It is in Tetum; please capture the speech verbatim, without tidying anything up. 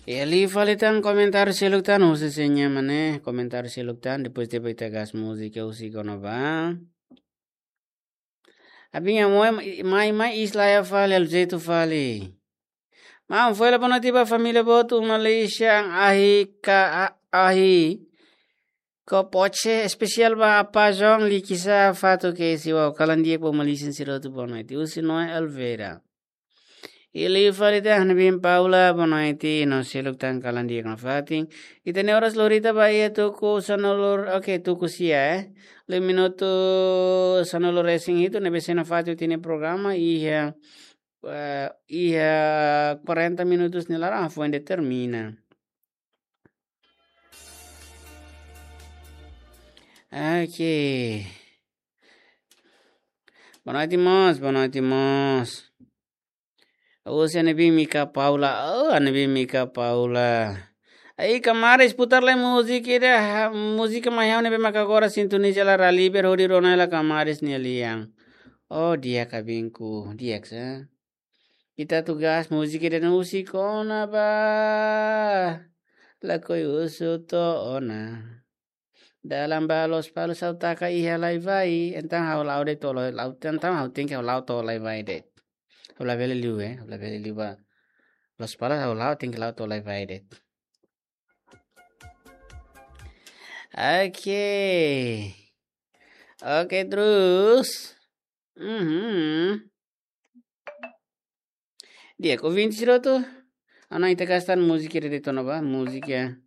Iha liu fali tan komentáriu seluk tan, husi seña mane, komentáriu seluk tan, depois depois ita gas múzika husi kona-ba. Abin ya moe mai mai isla ya fali, alu jetu fali. Maun, foin la bono tiba família botu Malaysia, ahi ka a- ahi. Ko poche espesiál ba apa João likisa fatu ke siwa kalan dia po Malaysia sira tu bono iti husi Noe Alveira. Iha liu fali tan, ha'u-nia biin Paula, boa noite, no seluk tan kalan di'ak nafatin. Ita-nia oras lorita ba iha tuku sanulu, oke, tuku sia, eh. Liu minutu sanulu resin hitu, ne'ebé sei nafatin ita-nia programa, iha, eh, iha quarenta minutos nia laran, foin determina. Oke. Boa noite, mós, boa noite, mós. Husi ha'u-nia biin Mika Paula. Oh, ha'u-nia biin Mika Paula. Ai, kamaris, putar lai múzika ida, ha, múzika mai ha'u ne'ebé maka agora sintoniza la Raliber hodi rona hela kamaris nia lian. Oh, di'ak biinku, di'ak sa. Ita atu gas múzika ida husi kona-ba. Lakohi husu to'o ona. Dalan ba Lospalos ha'u taka iha Laivai, entaun ha'u la'o de'it to'o Lai-, la'o, entaun ha'u tenke ha'u la'o to'o Laivai de'it. Ha'u labele liu, eh, ha'u labele liu ba Lospalos, ha'u la'o tenke la'o to'o Laivai de'it. Oke. Oke, terus. Mhm. Di'ak, ouvinte sira hotu. Agora ita gas tan múzika ida de'it ona ba, múzika